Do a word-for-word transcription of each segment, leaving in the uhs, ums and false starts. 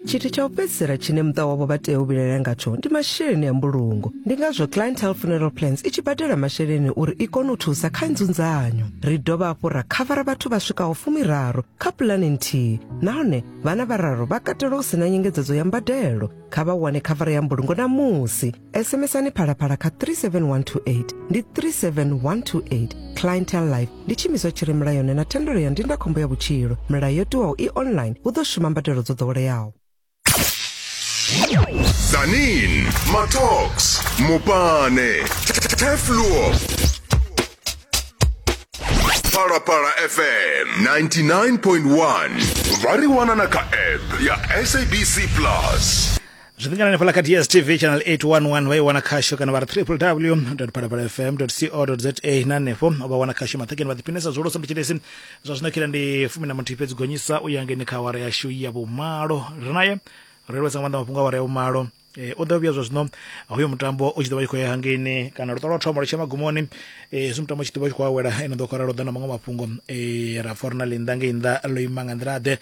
Tshithu tsha u fhedzisela tshine muṱa wavho vha tea u vhilaela ngatsho ndi masheleni a mbulungo. Ndi ngazwo Clientele Funeral Plans i tshi badela masheleni uri i kone u thusa kha nzunzanyo. Ri dovha hafhu ra khavara vhathu vha swikaho fumiraru kha pulane nthihi, nahone vhana vhararu vha katelwa hu sina nyengedzedzo ya mbadelo. Kha vha wane khavara ya mbulungo namusi. SMSani Phalaphala kha three seven one two eight, ndi three seven one two eight. Clientele Life ndi tshiimiswa tshi re mulayoni na thendelo ya ndindakhombo ya vhutshilo. Milayo yo tiwaho i online, hu ḓo shuma mbadelo dzo ḓoweleaho. Zanin, Matox, Mopane, Tefluo, Phalaphala F M ninety-nine point one. Vha ri wana na kha app ya S A B C Plus. Zwi ḓingana hanefhaḽa kha D S T V channel eight one one vha i wana khasho kana vha ri w w w dot phalaphala f m dot co dot z a na hanefho vha wana khasho maṱhekeni vha ḓiphinesa zwihulusa mutshilesi. Zwa zwino khila ndi fumi na muthihi fhedzi gonyisa u ya ngeni kha awara yashu ya vhumalo. Ri naye ri lwesa nga maanḓa mafhungo a awara ya vhumalo. Eh, o ḓo vhuya zwa zwino hoyo mutambo u tshi ḓo vha tshi khou ya hangeini kana luṱo lwa thoma lu tshe magumoni, eh, hezwi mutambo u tshi ḓo vha tshi khou awela ene ḓo khou ralo ḓa na maṅwe mafhungo, eh, ra pfa uri na ḽinnḓa ngei nnḓa ḽo ima nga nḓila ḓe.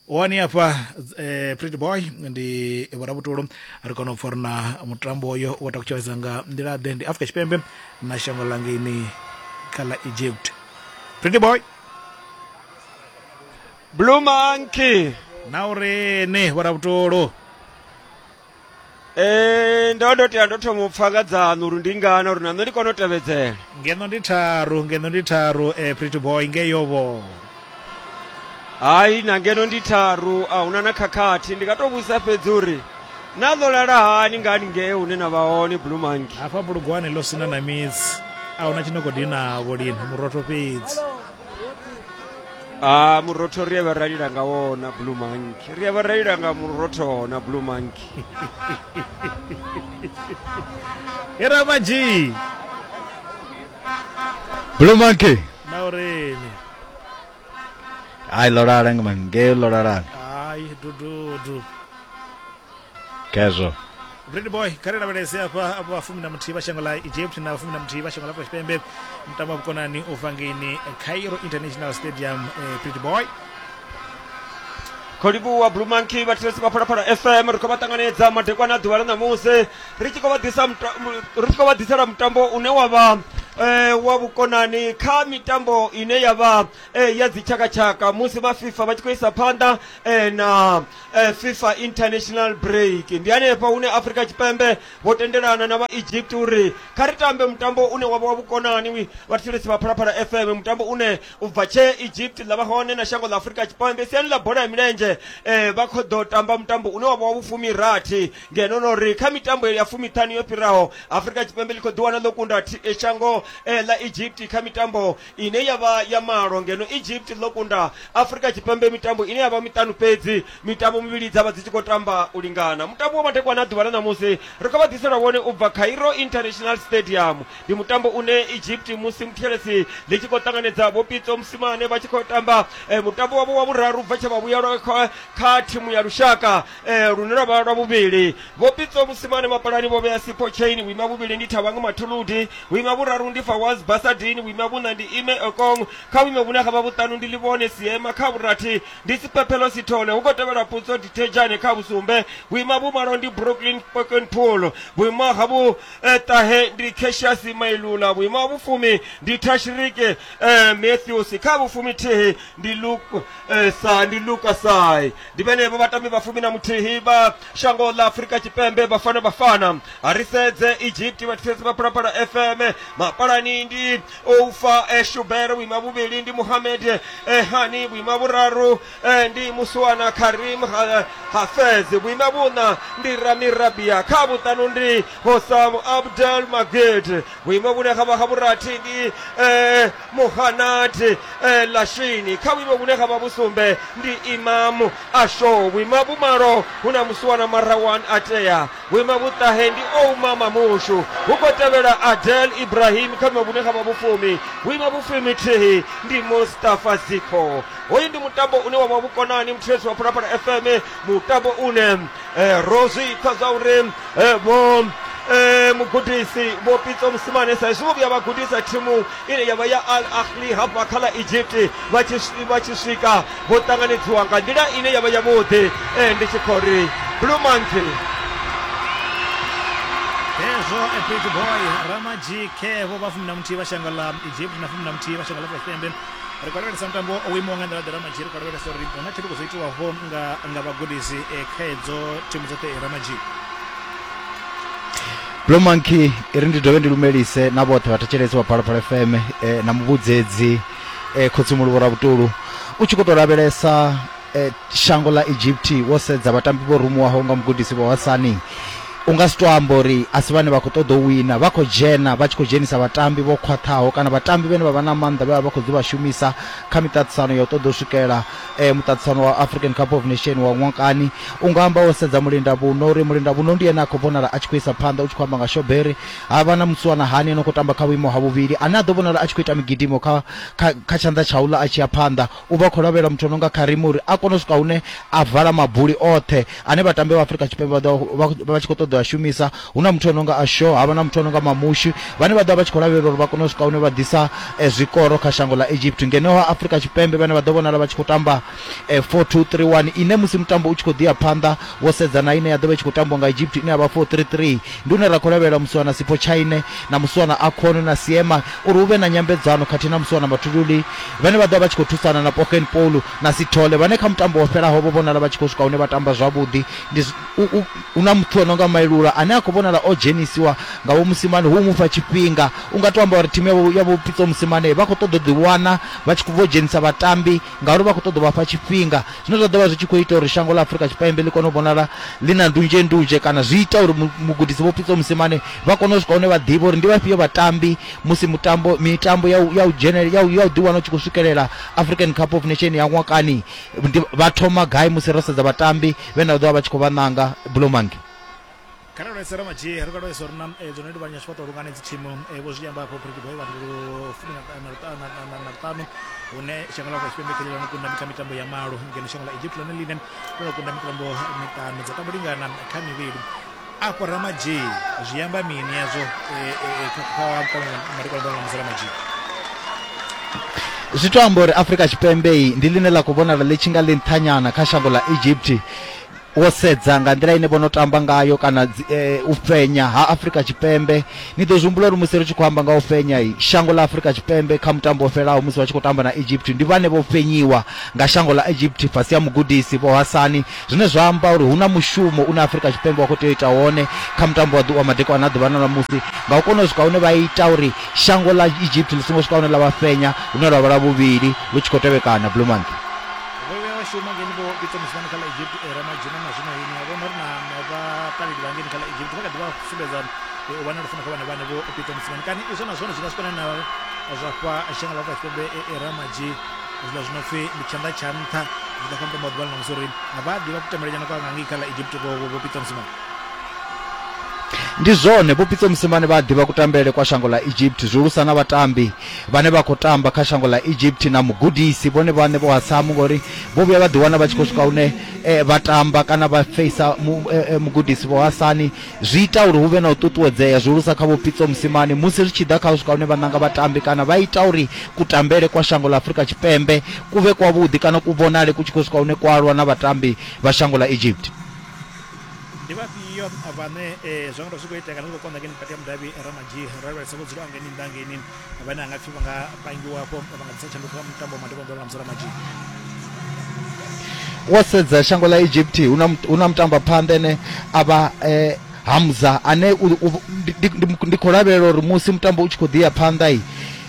Wani hafha eh, Pretty Boy ndi vhorabutulu ri kona u pfa uri na mutambo oyo wo takutshedza nga nḓila ḓe, ndi Afrika Tshipembe na shango ḽa ngeini kha ḽa Egypt. Pretty Boy Blue Monkey na uri ni vhorabutulu. Eh, ndo ndo tea ndo thoma u pfa nga dzaṋu uri ndi ngana uri na nṋe ndi kone u tevhedzela. Ngeno ndi tharu, ngeno ndi tharu, eh, Pretty Boy ngeyo vho. Hai, na ngeno ndi tharu, a huna na khakhathi. Ndi nga to vhudzisa fhedzi uri na ḽo lala hani ngani ngei hune na vha hone Blue Monkey? Hafha bulugwane ḽo sina na midzi, a huna tshino khou dinavho lini, murotho fhedzi. Ah, murotho ri a vha ra lila nga wona Blue Monkey. Ri a vha ra lila nga murotho na Blue Monkey. Era maji. Blue Monkey. Na uri ni. Ai ḽo lala nga ngei ḽo lala. Ai dududu. Kezo. Pretty Boy kha ri lavhelese hafha vha fumi na muthihi vha shango ḽa Egypt na fumi na muthihi vha shango ḽa Afrika Tshipembe, mutambo wa vhukonani u bva ngeini Cairo International Stadium. eh, Pretty Boy Kho livhuwa Blue Monkey vha thetshelesi vha Phalaphala F M, ri khou vha ṱanganedza madekwana a ḓuvha ḽa ṋamusi ri tshi khou vha ḓisa ri tshi khou vha ḓisela mutambo une wa vha eh, wa vhukonani kha mitambo ine ya vha eh, ya dzitshakatshaka musi vha FIFA vha tshi khou isa phanḓa eh, na eh, FIFA International Break. Ndi hanefha hune Afrika Tshipembe vho tendelana na vha Egypt uri kha ri tambe mutambo une wa vha wa vhukonani vha thetshelesi vha Phalaphala F M, mutambo une u bva tshe Egypt ḽa vha hone na shango ḽa Afrika Tshipembe siani ḽa bola ya milenzhe, eh, vha khou ḓo tamba mutambo une wa vha wa vhufumirathi, ngeno no ri kha mitambo ya fumiṱhanu yo fhiraho Afrika Tshipembe ḽi khou ḓiwana ḽo kunda shango eh, ḽa Egypt kha mitambo ine ya vha ya malo, ngeno Egypt ḽo kunda Afrika Tshipembe mitambo ine ya vha miṱanu fhedzi, mitambo mivhili dza vha dzi tshi khou tamba u lingana. Mutambo wa madekwana a ḓuvha ḽa ṋamusi ri khou vha ḓisela wone u bva Cairo International Stadium. Ndi mutambo une Egypt musi muthelesi ḽi tshi khou ṱanganedza Vho Pitso Mosimane vha tshi khou tamba eh, mutambo wavho wa vhuraru bva tshe vha vhuyelwa kha, kha thimu ya lushaka eh, lune lwa vha lwa vhuvhili. Vho Pitso Mosimane mapalani vho vhea Sipho Chain, vhuima vhuvhili ndi Thabang Mathuludi, vhuima vhuraru ndi Fawaz Basadin, vhuima vhuṋa ndi Ime Okong, kha vhuimo vhune ha vha vhuṱanu ndi Livhone Siema, kha vhurathi ndi Siphephelo Sithole, hu khou tevhela Putso Dithejane kha vhusumbe, vhuima vhumalo ndi Brooklyn Pokenpool, vhuima ha vhu eh, ṱahe ndi Cassius Mailula, vhuima ha vhufumi ndi Tashrik eh, Matthews, kha vhufumi thihi ndi Luke eh, sa ndi Lucas Sai. Ndi vhenevho vhatambi vha fumi na muthihi vha shango ḽa Afrika Tshipembe Bafana Bafana. A ri sedze Egypt vha thetshelesi vha Phalaphala F M, mapalani ndi Oufa eh, Shuber, vhuima vhuvhili ndi Mohamed eh, Hani, vhuima vhuraru eh, ndi Musuwana Karim ha, Hafez, vhuima vhuṋa ndi Rami Rabia, kha vhuṱanu ndi Hossam Abdel Magid, vhuimo vhune ha vha ha vhurathi ndi eh, Muhanad eh, Lashini, kha vhuimo vhune ha vha vhusumbe ndi Imam Asho, vhuima vhumalo hu na Musuwana Marawan Atea, vhuima vhuṱahe ndi Ouma Mamushu, hu khou tevhela Adel Ibrahim kha vhuimo vhune ha vha vhufumi, vhuima vhufumi thihi ndi Mustafa Ziko. Hoyu ndi mutambo une wa vha vhukonani muthelesi wa Phalaphala F M, mutambo une eh, ro zwi pfa zwa uri eh, vho eh, mugudisi Vho Pitso Mosimane sa izwi vho vhuya vha gudisa thimu ine ya vha ya Al Ahly hafha kha ḽa Egypt vha tshi vha tshi swika vho ṱanganedziwa nga nḓila ine ya vha yavhuḓi. Eh, ndi tshi khou ri Blue Monkey hezwo a Pretty Boy Ramaji Kevo vha fumi na muthihi vha shango ḽa Egypt na fumi na muthihi vha shango ḽa Afrika Tshipembe. Ri khou lavhelesa mutambo wo imaho nga nḓila ḓe Ramaji, ri khou lavhelesa uri hu na tshanduko dzo itiwaho nga nga vhagudisi eh, kha hedzo thimu dzoṱhe Ramaji. Blue Monkey iri ndi dovhe ndi lumelise na vhoṱhe vhathetshelesi vha Phalaphala F M eh, na muvhudzedzi eh, Khotsimulovho Rabutulu. U tshi khou tou lavhelesa eh, shango ḽa Egypt wo sedza vhatambi vho rumuwaho nga mugudisi Vho Hasani, u nga si to amba uri a si vhane vha khou ṱoḓa u wina, vha khou dzhena vha tshi khou dzhenisa vhatambi vho khwaṱhaho kana vhatambi vhane vha vha na maanḓa vhe vha vha khou ḓi vha shumisa kha miṱaṱisano ya u ṱoḓa u swikela eh, muṱaṱisano wa African Cup of Nation wa ṅwakani. U nga amba wo sedza Mulindavhuno uri Mulindavhuno ndi ene a khou vhonala a tshi khou isa phanḓa, u tshi khou amba nga Shoberi, ha vha na Mutswana Hani ane khou tamba kha vhuimo ha vhuvhili ane a ḓo vhonala a tshi khou ita migidimo kha kha, kha tshanḓa tsha uḽa a tshi ya phanḓa. U vha khou lavhelela muthu no nga Karimu uri a kone u swika hune a vala mabuli oṱhe ane vhatambi vha Afrika Tshipembe vha ḓo vha tshi khou ṱoḓa a shumisa. Hu na muthu ononga Asho, havha na muthu ononga Mamushi vhane vha ḓo vha tshi khou lavhelela uri vha kone u swika hune vha ḓisa eh, zwikoro kha shango ḽa Egypt. Ngeno ha Afrika Tshipembe vhane vha ḓo vhonala vha tshi khou tamba eh, four two three one ine musi mutambo u tshi khou ḓi ya phanḓa wo sedza na ine ya ḓo vha i tshi khou tambiwa nga Egypt ine ya vha four three three, ndi hune ra khou lavhelela Muswana Sipho Chaine na Muswana Akhono na Siema uri hu vhe na nyambedzano khathihi na Muswana Mathululi vhane vha ḓo vha vha tshi khou thusana na Pogen Paul na Sithole vhane kha mutambo wo fhelaho vho vhonala vha tshi khou swika hune vha tamba zwavhuḓi. Ndi hu na muthu ononga Mailula ane a khou vhonala o dzhenisiwa nga Vho Mosimane hu mufha tshifhinga. U nga to amba uri thimu ya Vho Pitso Mosimane vha khou ṱoḓa u ḓiwana vha tshi vho dzhenisa vhatambi ngauri vha khou ṱoḓa vha fha tshifhinga, zwine zwa ḓo vha zwi tshi khou ita uri shango ḽa Afrika Tshipembe ḽi kone u vhonala ḽi na ndunzhe ndunzhe, kana zwi ita uri mugudisi Vho Pitso Mosimane vha kone u swika hune vha ḓivha uri ndi vhafhio vhatambi musi mutambo mitambo ya ya u dzhenela ya u ḓiwana u tshi khou swikelela African Cup of Nation ya ṅwakani vha thoma gai musi ro sedza vhatambi vhane vha ḓo vha vha tshi khou vha ṋanga. Blue Monkey kha lavhelesa Ramaji, ri khou lavhelesa uri na dzone ndi vhanya tshifhaṱo lungane dzi thimu vho zwi amba afho Pretty Boy vha fumi na ṱanu hune shango ḽa Afrika Tshipembe kha ḽo kunda kha mitambo ya malo, ngeno shango ḽa Egypt ḽone ḽine ḽo kunda mitambo miṱanu dza tambo lingana kha mivhili. Afho Ramaji zwi amba mini yazwo kha madekwana a ṋamusi Ramaji? Zwi to amba uri Afrika Tshipembe ndi ḽine ḽa khou vhonala ḽi tshi nga ḽi nṱhanyana kha shango ḽa Egypt wo sedza nga nḓila ine vho no tamba ngayo kana e, u fenya ha Afrika Tshipembe. Ni ḓo zwi humbula uri musi ri tshi khou amba nga u fenya shango ḽa Afrika Tshipembe kha mutambo wo fhelaho musi vha tshi khou tamba na Egypt ndi vhane vho fenyiwa nga shango ḽa Egypt fhasi ha mugudisi Vho Hasani, zwine zwa amba uri hu na mushumo une Afrika Tshipembe wa khou tea u ita wone kha mutambo wa ḓuvha madekwana a ḓuvha na musi nga u kona u swika hune vha ita uri shango ḽa Egypt ḽi songo swika hune ḽa vha fenya, hune lwa vha lwa vhuvhili lu tshi khou tevhekana. Blue Monkey shuma ngeni Vho Pitso Mosimane kha ḽa Egypt Ramaji na zwino ini a vhona uri na vhaṱaleli vha ngeni kha ḽa Egypt vha kha ḓi vha sumbedza u vha na lufuno kha vhana vhane Vho Pitso Mosimane, kani izwo na zwone zwi nga swikana na zwa fha shango ḽa Afrika Tshipembe Ramaji zwiḽa zwi no pfhi ndi tshanḓa tsha nṱha zwi ḓa kha mutambo wa ḓuvha ḽa ṋamusi uri vha ḓivha kutambele kwa nga ngei kha ḽa Egypt Vho Pitso Mosimane? Ndi zwone Vho Pitso Mosimane vha ḓivha kutambele kwa shango ḽa Egypt, zwihulusa na vhatambi vhane vha khou tamba kha shango ḽa Egypt na mugudisi vhone vhaṋe Vho Hasamu, ngori vho vhuya vha ḓiwana vha tshi khou swika hune eh, vha tamba kana vha feisa mu, eh, mugudisi Vho Hasani. Zwi ita uri hu vhe na u ṱuṱuwedzea zwihulusa kha Vho Pitso Mosimane musi ri tshi ḓa kha u swika hune vha ṋanga vhatambi kana vha ita uri kutambele kwa shango ḽa Afrika Tshipembe ku vhe kwavhuḓi kana ku vhonale ku tshi khou swika hune kwalwa na vhatambi vha shango ḽa Egypt. Ndi vhafhio vhane zwa nga zwi khou itea kana zwi khou konḓa ngeni vhukati ha mudavhi Ramaji? Ro lavhelesa vho dzulaho ngeni nnḓa ngeni vhane a nga pfhi vha nga pangiwa afho vha nga ḓisa tshanduko kha mutambo wa madekwana ḓuvha ḽa ṋamusi Ramaji. Wo sedza shango ḽa Egypt hu na hu na mutamba phanḓa ene a vha eh, Hamza ane ndi khou lavhelela uri musi mutambo u tshi khou ḓi ya phanḓa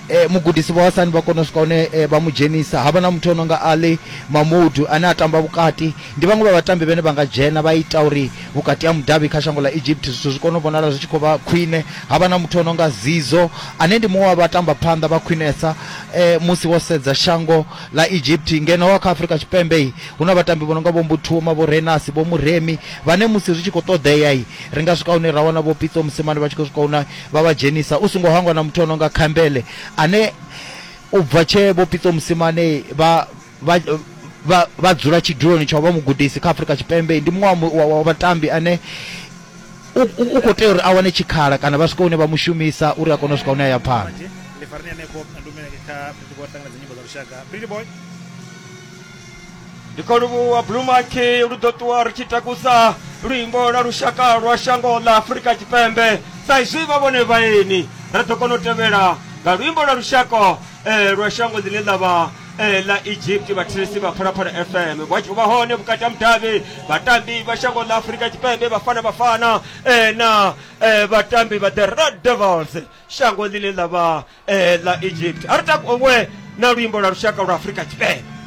e, mugudisi Vho Hasani vha kona u swika hune e, vha mu dzhenisa. Havha na muthu ononga Ali Mahmoud ane a tamba vhukati, ndi vhaṅwe vha vhatambi vhane vha nga dzhena vha ita uri vhukati ha mudavhi kha shango ḽa Egypt zwithu zwi kone u vhonala zwi tshi khou vha khwine. Havha na muthu ononga Zizo ane ndi muṅwe wa vhatamba phanḓa vha khwinesa e, musi wo sedza shango ḽa Egypt. Ngeno wa kha Afrika Tshipembe hu na vhatambi vho nonga Vho Mbuthuma, Vho Renasi, Vho Muremi vhane musi zwi tshi khou ṱoḓea ri nga swika hune ra wana Vho Pitso Mosimane vha tshi khou swika hune vha vha dzhenisa. U songo hangwa na muthu ononga Khambele ane u bva tshe Vho Pitso Mosimane vha vha vha vha dzula tshiduloni tsha vha mugudisi kha Afrika Tshipembe, ndi muṅwe wa vhatambi ane u khou tea uri a wane tshikhala kana vha swike hune vha mu shumisa uri a kone u swika hune a ya phanḓa. Ndi fareni hanefho ndumele kha Pretty Boy ṱanganedza nyimbo dza lushaka. Pretty Boy. Ndi khou livhuwa Blue Monkey, lu ḓo ṱuwa ri tshi takusa luimbo lwa lushaka lwa shango ḽa Afrika Tshipembe sa izwi vha vhone vhaeni ra ḓo kona u tevhela nga luimbo lwa lushaka eh, lwa shango ḽine ḽa vha eh, ḽa Egypt. Vhathetshelesi vha Phalaphala F M vha tshi vha hone vhukati ha mudavhi vhatambi vha shango ḽa Afrika Tshipembe Bafana Bafana eh, na eh, vhatambi vha the Red Devils shango ḽine ḽa vha eh, ḽa Egypt. A ri takuwe na luimbo lwa lushaka lwa Afrika Tshipembe.